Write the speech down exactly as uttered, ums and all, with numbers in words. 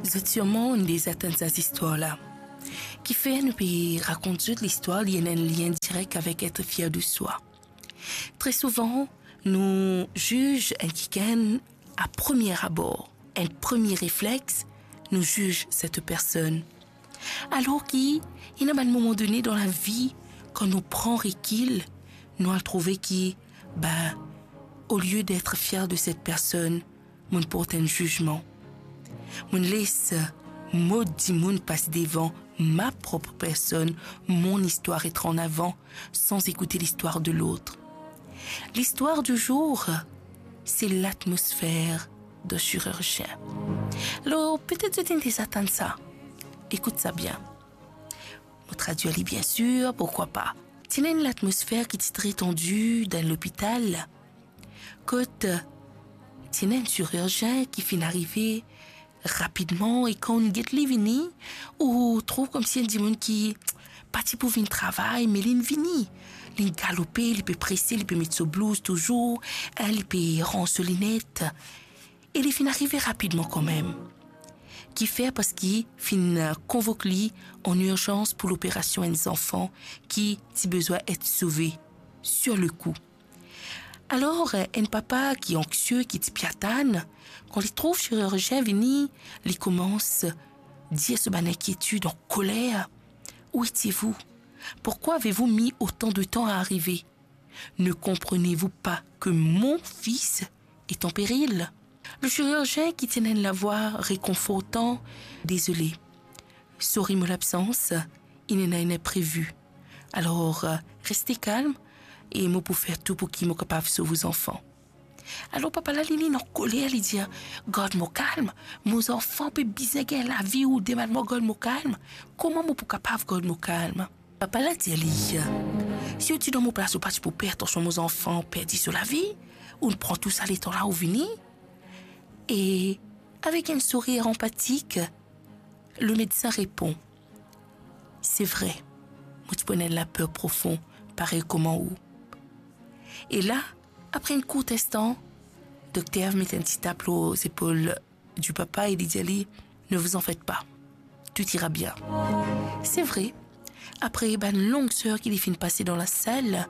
Zot sirman inn deza tann sa zistwar la. Kifer nou pe rakont zot listwar, li ena enn lien direk avek et fier de swa. Tre souvan, nou ziz enn kikenn a premie abor, enn premie reflex, nou ziz set personn. Alor ki, ena bann moman done dan lavi, kan nou pran rekil, nou al trouve ki, be, olie d'être fier de cette personne, mo'nn port enn zizman. Mo'nn les mod dimoun pas devan ma prop personn, mon istwar et an avan, san ekoute listwar de lot. Listwar di zour, se latmosfer de chirurgien. Alor, petet zot inn deza tann sa. Ekout sa bien. Mo tradwir li, bien sir, pourkwa pa. Ti ena enn latmosfer ki ti tre tandi dan lopital, kot ti ena enn chirurgien ki finn arive rapidman, e kan ou get li vini, ou trouv koumsi enn dimoun ki pa ti pou vinn travay, me linn vini. Linn galope, li pe prese, li pe met so blouz touzour, e li pe ranz so linet. E li finn arive rapidman kanmem. Kifer? Parski finn konvok li an irzans pou loperasion enn zanfan ki ti bizin et sove sur le coup. Alor, enn papa ki anksie, ki ti pe atann, kan li trouv chirurgien vini, li koumans dir so bann inkietid an koler, "Où étiez-vous? Pourquoi avez-vous mis autant de temps à arriver? Ne comprenez-vous pas que mon fils est en péril?" Le chirurgien ki ti ena enn lavwa rekonfortan, "Désolé. Sorry mo labsans, inn ena enn inprevi. Alor, reste kalm e mo pou fer tou pou ki mo kapav sov ou zanfan." Alor papa la, li, li ena koler, li dir, "Gard mo kalm, mo zanfan pe bizin gagn lavi, ou demann mwa gard mo kalm. Kouma mo pou kapav gard mo kalm?" Papa la dir li, "Si ou ti dan mo plas, ou pa ti pou per atansion mo zanfan perdi so lavi, ou'nn pran tou sa letan la ou vini." E avek enn sourir anpatik, le medsin repon, "Se vre, mo ti pou ena enn laper profon, parey kouma ou." E la, apre enn kourt instan, dokter met enn ti tap lor zepol di papa e li dir li, "Ne vous en faites pas, tout ira bien." Se vre, apre bann long ser ki li finn pase dan lasal,